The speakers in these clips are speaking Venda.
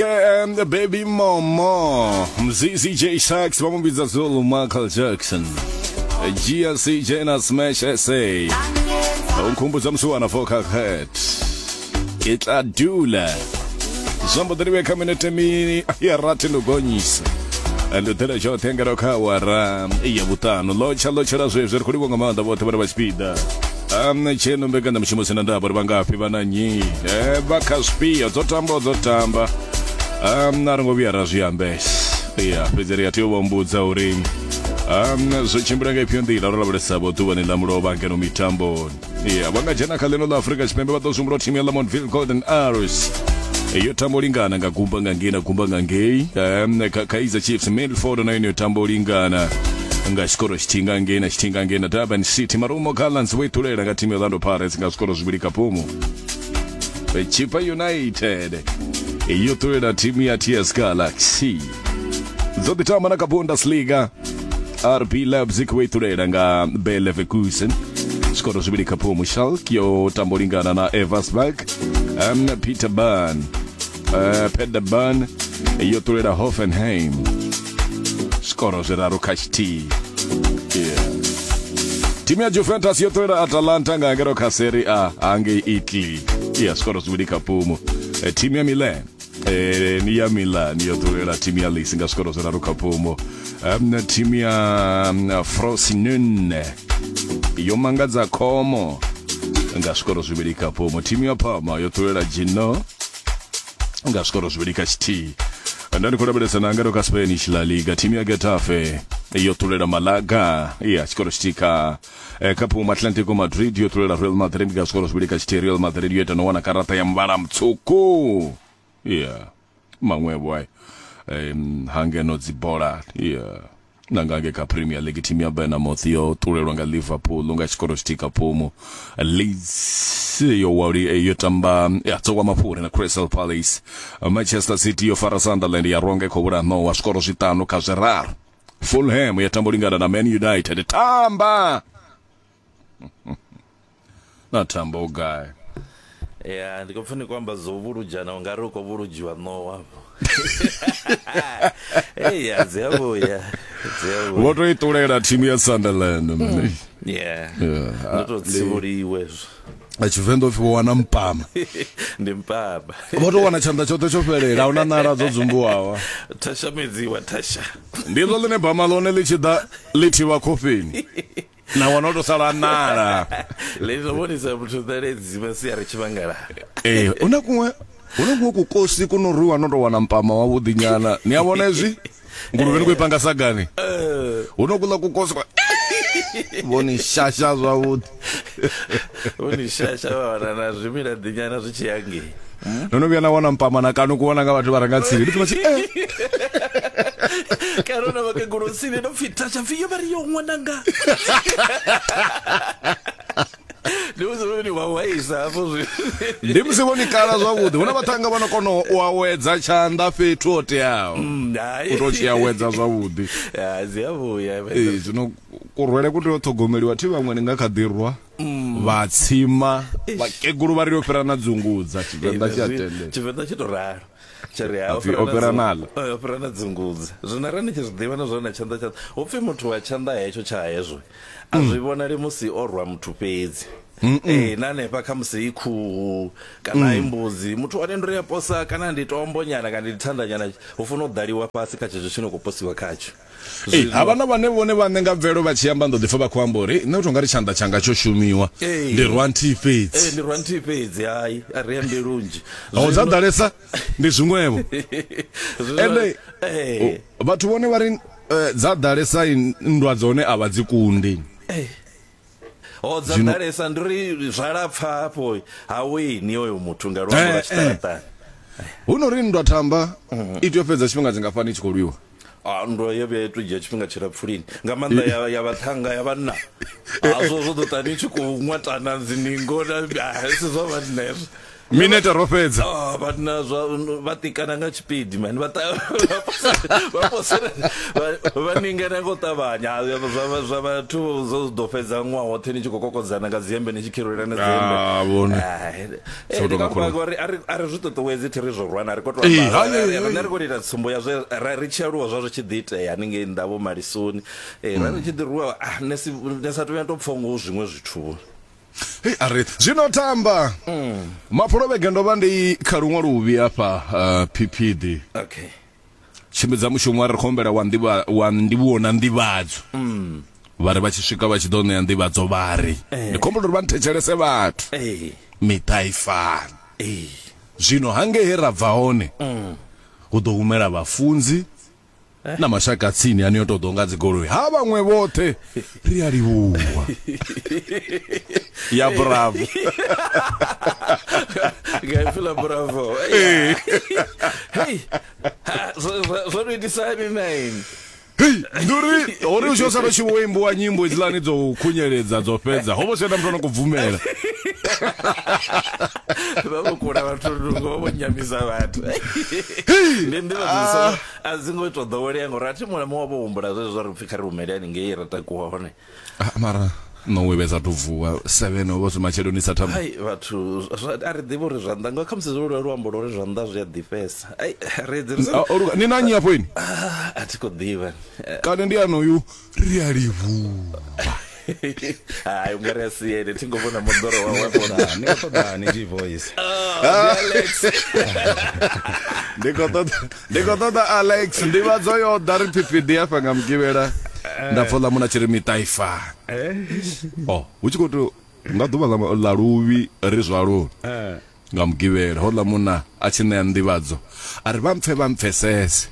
And the baby momo Mzizi J Sachs vha mu vhidza Zulu Michael Jackson GLC Jena Smash SA u nkhumbudza musi wana vocal head ke tla dula zwo mbo ḓi livhe kha minete mi ya rathi ndo gonyisa ndo ḓela tshoṱhe ngeno kha awara ya vhuṱanu lotsha lotshela zwezwi ri khou livhuwa nga maanḓa vhoṱhe vhane vha tshipiḓa tsheno mbekanyamushumo sina ndavha uri vha ngafhi vha na nnyi vha kha zwifhio dzo tamba dzo tamba a ri ngo vhuya ra zwi ambesa ya fhedzi ri a tea u vha mbudza uri zwo tshimbila nga ifhio nḓila ro lavhelesa vho ḓuvhani ḽa mulovha ngeno mitamboni ya vha nga dzhena kha ḽino ḽa Afrika Tshipembe vha ḓo zwi humbula thimu ya Lamontville Golden Arrows yo tamba u lingana nga gumba nga ngei na gumba nga ngei kha Kaizer Chiefs Milford na yone yo tamba u lingana nga tshikoro tshithihi nga ngei na tshithihi nga ngei na Durban City. Marumo Gallants vho ithulela nga thimu ya Orlando Pirates nga zwikoro zwivhili kha phumu. Chippa United yo ṱulela thimu ya TS Galaxy. Dzo ḓi tamba na kha Bundesliga. RB Leipzig vho ithulela nga Bayer Leverkusen zwikoro zwivhili kha phumu. Schalke yo tamba u lingana na Eversberg. Peter Bern Paderborn yo ṱulela Hoffenheim zwikoro zwiraru kha tshithihi. Yeah. Thimu ya Juventus yo ṱulela Atalanta nga ngeno kha Serie A hangei Italy ya zwikoro zwivhili kha phumu. Thimu ya Milan ni ya Milan yo ṱulela thimu ya Lecce nga zwikoro zwiraru kha phumu. Thimu ya Frosinone yo mangadza Como nga zwikoro zwivhili kha phumu. Thimu ya Parma yo ṱulela Genoa nga zwikoro zwivhili kha tshithihi. Nda ndi khou lavhelesa na ngeno kha Spanish La Liga, thimu ya Getafe yo ṱulela Malaga ya tshikoro tshithihi kha kha phumu. Atlantico Madrid yo ṱulela Real Madrid nga zwikoro zwivhili kha tshithihi. Real Madrid yo ita no wana karaṱa ya muvhala mutswuku ya maṅwevho ai hangeno dzibola ya na nga ngei kha Premier League thimu ya Bournemouth yo ṱulelwa nga Liverpool nga tshikoro tshithihi kha phumu. Leeds yo wali yo tamba ya tsowa mafhuri na Crystal Palace. Manchester City yo fara Sunderland ya rwa nga i khou vhulaha ṋowa zwikoro zwiṱanu kha zwiraru. Fulham ya tamba u lingana na Man United. Tamba na tamba u gai? Ya ndi khou pfa ni khou amba zwo vhuludzhana u nga ri u khou vhuludzhiwa ṋowa afho. Eya dzi a vhuya dzi a vhuya. Vho to i ṱulela thimu ya Sunderland. Yeah. Ndo to tsivhuliwe hezwo. A Tshivenḓa upfi vho wana mpama. Ndi mpama. Vho to wana tshanḓa tshoṱhe tsho fhelela, ahuna ṋala dzo dzumbuwaho. Thasha medziwa thasha. Ndi ḽo ḽine bama ḽone ḽi tshi ḓa ḽi thivha khofheni. Na wana u to sala ṋala. Ḽi to vhonisa muthu ṋaledzi masiari tshivhangala. Ee, huna kuṅwe huna kuṅwe kukosi ku no rwiwa no to wana mpama wavhuḓi nyana. Ni a vhona hezwi? Nguluvhe ni khou i panga sagani. Huno kuḽa kukosi kwa vho ni shasha zwavhuḓi. Vho ni shasha vha wana na zwimila ḓinyana zwi tshi ya ngei. No no vhuya na wana mpama na kanu kuwana nga vhathu vha re nga tsini. Ndi pfi vha tshi eh. Kana na vhakegulu tsini ndo pfi thasha pfi yo vha ri yo ṅwananga. Ndi musi vho ni wawaisa hafho zwi. Ndi musi vho ni kala zwavhuḓi. Hu na vhaṱhannga vha no kona u awedza tshanḓa fhethu ho teaho. Hai. U to tshi awedza zwavhuḓi. Ya dzi a vhuya. Ee, zwino kurwele ku tea u ṱhogomeliwa thi vhaṅwe ni nga kha ḓi rwa vha tsima vhakegulu vha ri yo fhira na dzungudza Tshivenḓa tshi a tendela. Tshivenḓa tshi to ralo. Tshi ri ha Hapfi o fhira naḽa. O fhira na dzungudza. Zwino arali ni tshi zwi ḓivha na zwone na tshanḓa tsha hu pfi muthu wa tshanḓa hetsho tsha hezwo a zwi vhonali musi o rwa muthu fhedzi. Ee na hanefha kha musi i khuhu kana i mbudzi muthu wane ndo ri a posa kana ndi tombo nyana kana ndi thanda nyana hu funa u ḓaliwa fhasi kha tshetsho tshino khou posiwa khatsho. Ee, havha na vhane vhone vhaṋe nga mvelo vha tshi amba ndo ḓipfa vha khou amba uri nṋe u tou nga ri tshanḓa tshanga tsho shumiwa ndi rwa nthihi fhedzi. Ee, ndi rwa nthihi fhedzi hai a ri ambi lunzhi. Ho dza ḓalesa ndi zwiṅwevho. Ende vhathu vhone vha ri dza ḓalesa nndwa dzone a vha dzi kundi. Ho dza ḓalesa ndi uri zwa lapfa hafho ha wini oyo muthu nga luambo lwa tshiṱaraṱani. Hu no ri nndwa thamba i tea u fhedza tshifhinga tshingafhani i tshi khou lwiwa? Ah, nndwa yo vhuya ito dzhia tshifhinga tshilapfu lini nga maanḓa ya, ya vhaṱhannga ya vhanna hazwo zwo ḓo ṱani tshi khou ṅwatana dziningo na si zwa vhanna hezwo. Minete ro fhedza. Oh, vhanna zwa vha tikana nga tshipidi mani vha vha posela vha ningana ngo ṱavhanya zwa zwa vhathu zwo ḓo fhedza ṅwaha woṱhe ni tshi khou kokodzana nga dzihembe ni tshi khirulelana dzihembe. Ah, vhone. Eh, ndi nga uri a ri zwi ṱuṱuwedzi thi ri zwo rwana ri khou tou amba riṋe ri khou ita tsumbo ya zwe ri tshi aluwa zwa zwi tshi ḓi itea haningei nnḓa vho malisoni ra ri tshi ḓi rwiwa ah, ne si ne sa tou vhuya to pfha ngo zwiṅwe zwithu. Hei, a ri zwino tamba mafhelo vhege ndo vha ndi kha luṅwe luvhi hafha uh, phiphidi Okay. tshimbidza mushumo wa ri khou humbela wa nḓivha wa ndivhuwo na nḓivhadzo vha ri vha tshi swika vha tshi ḓo ṋea nḓivhadzo vha ri ndi khou humbela uri vha nthetshelese vhathu Ee. miṱa i fani Ee. zwino hangei he ra bva hone hu ḓo humela vhafunzi na mashaka tsini ane yo tou ḓo nga dzigoloi ha vhaṅwe vhoṱhe ri a livhuwa ya bravo nga ipfi ḽa bravo hey zwo to itisa hani nine Hei, ndi uri hori u tshi sala u tshi vho imbiwa nyimbo hedziḽani dzo u khunyeledza dzo fhedza ho vho sena muthu ano khou bvumela vha vho kula vhathu nungo vha vho nyamisa vhathu ndi nḓivha ah. a dzi ngo to ḓowelea ngori a thi muṅwe na muṅwe vho humbula zwezwo zwa ri pfhi kha ri humele haningei ra takuwa hone ah, mara no we vhesa to vuwa 7 ho vho zwi matsheloni sa thamba hai vhathu a ri ḓivhi uri zwanḓa nga khamusi zwo lwa luambo lwa uri zwanḓa zwi a ḓifhesa ai ri ri ah, ni na nnyi afho ini ah, a thi khou ḓivha kana ndi anoyu ri a livhuwa Hai unga ri a si ene thi ngo vhona moḓoro wawe afho. Ni khou ṱoḓani G voice? Oh, Alex. Ndi khou ṱoḓa ndi khou ṱoḓa Alex nḓivhadzo yo ḓa ri phiphiḓi hafha nga mugivhela nda pfa ḽa muna tshi ri miṱa i fani. Oh, hu tshi khou tou nga ḓuvha ḽa luvhi ri zwaloni. Nga Mugivhela, houḽa munna a tshi ṋea nḓivhadzo, a ri, Vha mpfe vha mpfesese,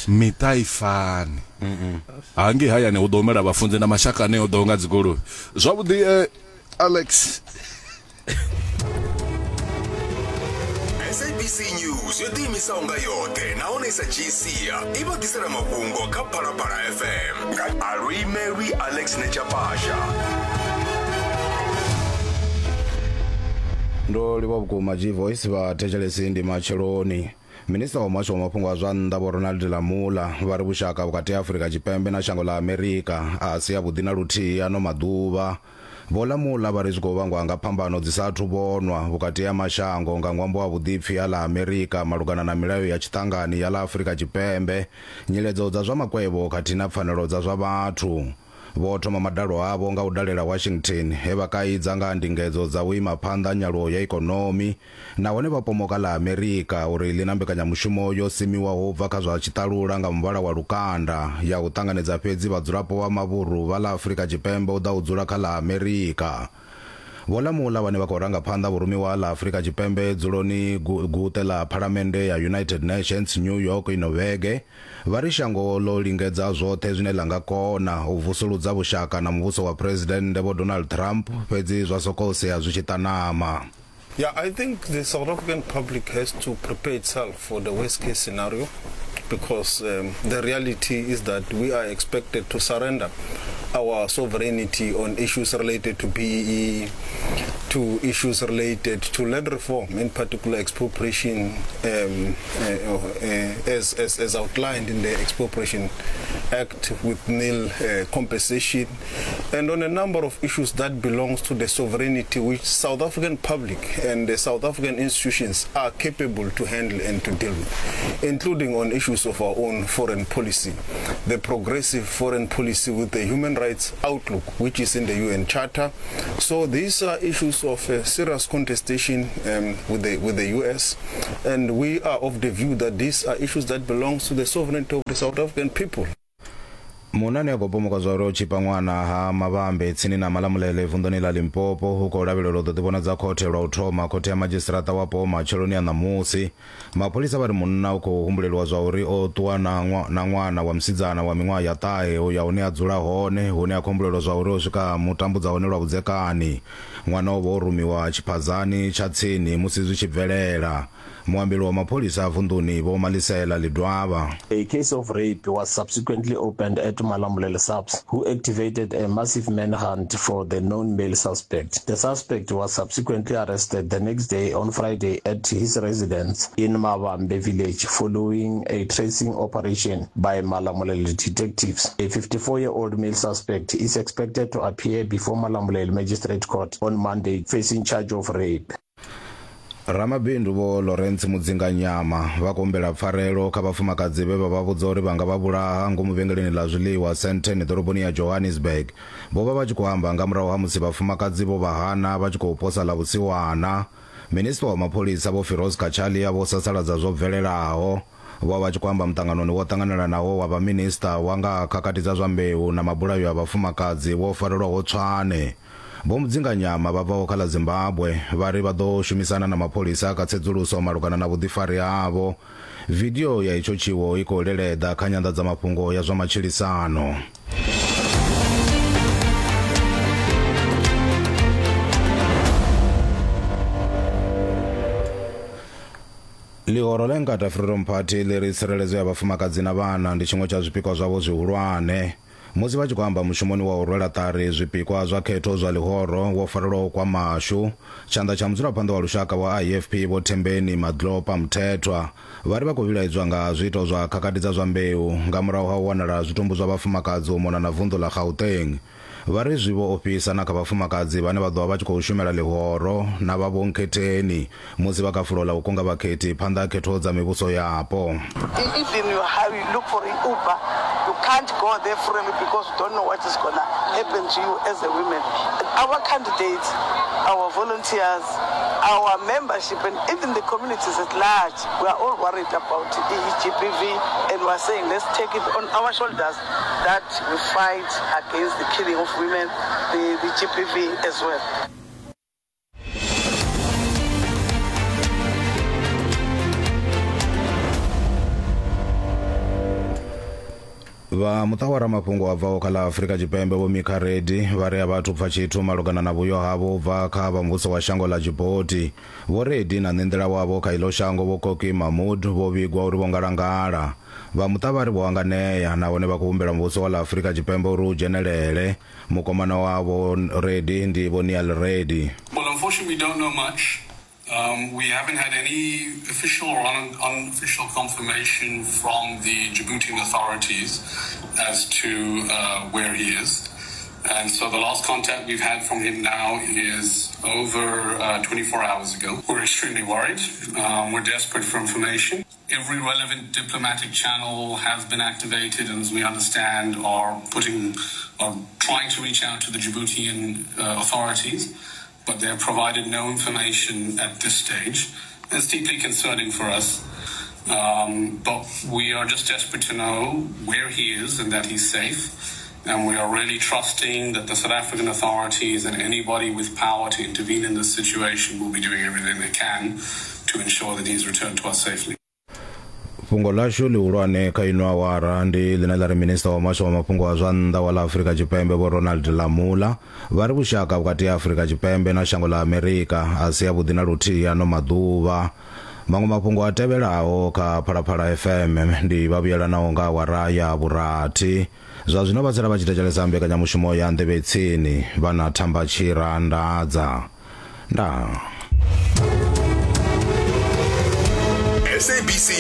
miṱa a i fani. Hangei hayani hu ḓo humela vhafunzi na mashaka ane o ḓaho nga dzigoloi. Zwavhuḓi, Alex. SABC News yo ḓiimisaho nga yoṱhe nahone i sa dzhii sia i vha ḓisela mafhungo kha Phalaphala FM nga a luimelwi Alex Nechapasha. Ndo livha vhukuma G-Voice vha thetshelesi ndi matsheloni. Minista wa muhasho wa mafhungo a zwa nnḓa Vho Ronald Lamola vha ri vhushaka vhukati ha Afrika Tshipembe na shango ḽa Amerika a si avhuḓi na luthihi ano maḓuvha. Vho Lamola vha ri zwi khou vhangwa nga phambano dzi sa athu vhonwa vhukati ha mashango nga ṅwambo wa vhuḓipfi ha ḽa Amerika malugana na milayo ya tshiṱangani ya ḽa Afrika Tshipembe, nyiledzo dza zwa makwevho khathihi na pfanelo dza zwa vhathu. Vho thoma madalo avho nga u dalela Washington, he vha kaidza nga ha ndingedzo dza u ima phanḓa nyaluwo ya ikonomi nahone vha pomoka ḽa Amerika uri ḽi na mbekanyamushumo yo simiwaho u bva kha zwa tshiṱalula nga muvhala wa lukanda ya u ṱanganedza fhedzi vhadzulapo vha mavhuru vha ḽa Afrika Tshipembe u ḓa u dzula kha ḽa Amerika. Vho Lamola vhane vha khou ranga phanḓa vhurumiwa ha ḽa Afrika Tshipembe dzuloni guṱe ḽa Phalamennde ya United Nations New York ino vhege, vha ri shango ḽo lingedza zwoṱhe zwine ḽa nga kona u vusuludza vhushaka na muvhuso wa Phresidennde Vho Donald Trump fhedzi zwa sokou sea zwi tshi ṱanama. Yeah, I think the South African public has to prepare itself for the worst case scenario because um, the reality is that we are expected to surrender our sovereignty on issues related to BEE, to issues related to land reform, in particular expropriation, um, uh, uh, as, as, as outlined in the Expropriation Act with nil uh, compensation, and on a number of issues that belongs to the sovereignty which South African public and the South African institutions are capable to handle and to deal with, including on issues of our own foreign policy, the progressive foreign policy with the human rights outlook, which is in the UN Charter. So these are issues of uh, serious contestation um, with the with the US, and we are of the view that these are issues that belongs to the sovereignty of the South African people. Munna ane a khou pomoka zwa uri o tshipa ṅwana ha Mavhambe tsini na Malamulele vunḓuni ḽa Limpopo u khou lavhelelwa u ḓo ḓivhonadza khothe lwa u thoma khothe ya madzhisiṱiraṱa wapo matsheloni a ṋamusi. Mapholisa vha ri munna u khou humbuleliwa zwa uri o ṱuwa na na ṅwana wa musidzana wa miṅwaha ya ṱahe u ya hune a dzula hone hune a khou humbulelwa zwa uri o swika a mu tambudza hone lwa vhudzekani. Ṅwana o vha o rumiwa tshiphazani tsha tsini musi zwi tshi bvelela. Muambeli wa mapholisa a vunḓuni Vho Malisela Ledwaba. A case of rape was subsequently opened at Malamulele SAPS, who activated a massive manhunt for the known male suspect. The suspect was subsequently arrested the next day on Friday at his residence in Mavambe village following a tracing operation by Malamulele detectives. A 54-year-old male suspect is expected to appear before Malamulele Magistrate Court on Monday facing charge of rape. Ramabindu Vho Lawrence Mudzinganyama vha khou humbela pfarelo kha vhafumakadzi vhe vha vha vhudza uri vha nga vha vhulaha ngomu vhengeleni ḽa zwiḽiwa Sandton ḓoroboni ya Johannesburg. Vho vha vha tshi khou amba nga murahu ha musi vhafumakadzi vho vha hana vha tshi khou posa ḽa vhusiwana. Minisiṱa wa mapholisa Vho Firoz Cachalia vho sasaladza zwo bvelelaho. Vho vha vha tshi khou amba muṱanganoni wo ṱanganelanaho wa vhaminisiṱa wa nga ha khakhathi dza zwa mbeu na mabulayo a vhafumakadzi wo farelwaho Tshwane. Vho Mudzinganyama vha bvaho kha ḽa Zimbabwe vha ri vha ḓo shumisana na mapholisa kha tsedzuluso malugana na vhuḓifari havho. Vidio ya itsho tshiwo i khou leleḓa kha nyanḓadzamafhungo ya zwa matshilisano. Ḽihoro ḽa Inkatha Freedom Party ḽi ri tsireledzo ya vhafumakadzi na vhana ndi tshiṅwe tsha zwipikwa zwavho zwihulwane. Musi vha tshi khou amba mushumoni wa u rwela ṱari zwipikwa zwa khetho zwa ḽihoro wo farelwaho kwa Mashu, tshanḓa tsha mudzulaphanḓa wa lushaka wa IFP Vho Thembeni Madlopha Mthethwa vha ri vha khou vhilaedzwa nga zwiito zwa khakhathi dza zwa mbeu nga murahu ha u wanala ha zwitumbu zwa vhafumakadzi u mona na vunḓu ḽa Gauteng. Vha ri zwi vho ofhisa na kha vhafumakadzi vhane vha ḓo vha vha tshi khou shumela ḽihoro na vha vhonkhetheni musi vha kha fulo ḽa u kunga vhakhethi phanḓa ha khetho dza mivhuso yapo. Even you how you look for an Uber, you can't go there freely because you don't know what is gonna happen to you as a woman. Our candidates, our volunteers, our membership and even the communities at large, we are all worried about GBV and we are saying let's take it on our shoulders that we fight against the killing of women, the, the GBV as well. Vha muṱa wa ramafhungo a bvaho kha ḽa Afrika Tshipembe Vho Mika Reddy vha ri a vha athu pfa tshithu malugana na vhuyo havho u bva kha vha muvhuso wa shango ḽa Djibouti. Vho Reddy na ṋenḓila wavho kha iḽo shango Vho Koki Mahmood vho vhigwa uri vho ngalangala. Vha muṱa vha ri vho hanganea nahone vha khou humbela muvhuso wa ḽa Afrika Tshipembe uri u dzhenelele. Mukomana wa Vho Reddy ndi Vho Niall Reddy. Well, unfortunately, we don't know much. Um, we haven't had any official or un unofficial confirmation from the Djiboutian authorities as to uh, where he is. And so the last contact we've had from him now is over uh, 24 hours ago. We're extremely worried. Um, we're desperate for information. Every relevant diplomatic channel has been activated, and as we understand, are putting, are trying to reach out to the Djiboutian uh, authorities, but they have provided no information at this stage. It's deeply concerning for us. Um, but we are just desperate to know where he is and that he's safe. And we are really trusting that the South African authorities and anybody with power to intervene in this situation will be doing everything they can to ensure that he's returned to us safely. Fhungo ḽashu ḽihulwane kha ino awara ndi ḽine ḽa ri minista wa muhasho wa mafhungo a zwa nnḓa wa ḽa Afrika Tshipembe Vho Ronald Lamola vha ri vhushaka vhukati ha Afrika Tshipembe na shango ḽa Amerika a si avhuḓi na luthihi ano maḓuvha. Maṅwe mafhungo a tevhelaho kha Phalaphala FM ndi vha vhuyelanaho nga awara ya vhurathi. Zwa zwino vha sala vha tshi thetshelesa mbekanyamushumo ya Nḓevhe Tsini vha na Thamba Tshira Ndadza. Ndaa. SABC.